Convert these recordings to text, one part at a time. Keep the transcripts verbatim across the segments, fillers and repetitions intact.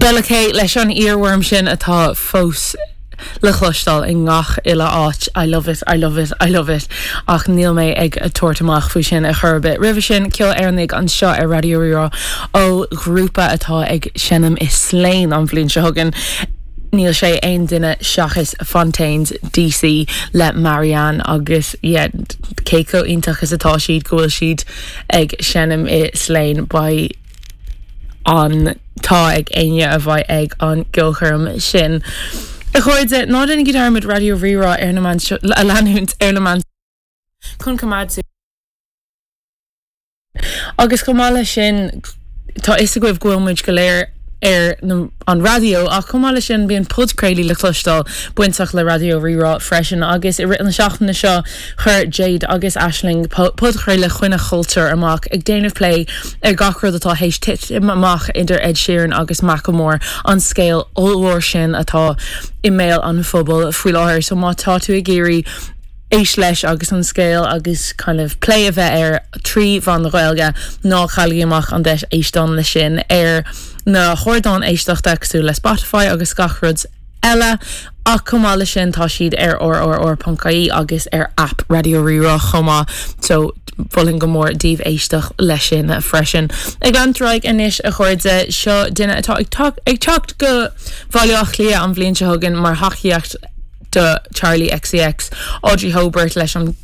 Bella K leis an earworm sin atá fós le cloisteáil i ngach uile áit I love it, I love it, I love it ach níl mé ag tabhairt amach faoi sin a chor ar bith. Roimhe sin ceol Éireannach anseo ar Raidió Rí-Rá ó ghrúpa atá ag seinm i Slane an bhliain seo chugainn. Níl sé aon duine seachas Fontaines DC le Marianne agus yeah, cé chomh iontach is atá siad go bhfuil siad ag seinm i Slane beidh an t-ádh ag éinne a bheidh ag an gceolchoirm sin. A chairde ná déanaigí dearmad Raidió Rí-Rá ar na meáin a leanúint ar na meáin chun coimeád. Agus chomh maith leis sin tá a fhios agaibh go bhfuil muid go léir ar an raidió ach chomh maith leis sin bíonn podchraoltaí le cloisteáil bainteach le Raidió Rí-Rá freisin agus i rith na seachtaine seo chuir Jade agus Aisling podchraoladh Choinne Chultúr amach ag déanamh plé ar gach rud atá théis titim amach idir Ed Sheeran agus Macklemore an scéal ollmhór sin atá i mbéal an phobail faoi láthair so má tá tú ag iarraidh éisteacht leis agus an scéal agus kind of plé a bheith air trí mheán na Gaeilge ná cailligí amach an deis éisteacht leis sin ar na hardáin éisteachta cosúil le Spotify agus gach rud eile ach chomh maith leis sin tá siad ar rrr.ie agus ar app Raidió Rí-Rá chomh maith so mholfainn go mór daoibh éisteacht leis sin freisin. Ag leanúint ar aghaidh anois a chairde seo duine atá ag ag teacht go Baile Átha Cliath an bhliain seo chugainn mar thacaíocht do Charli XCX Audrey Hobert leis an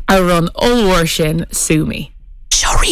amhrán ollmhór sin Sue Me.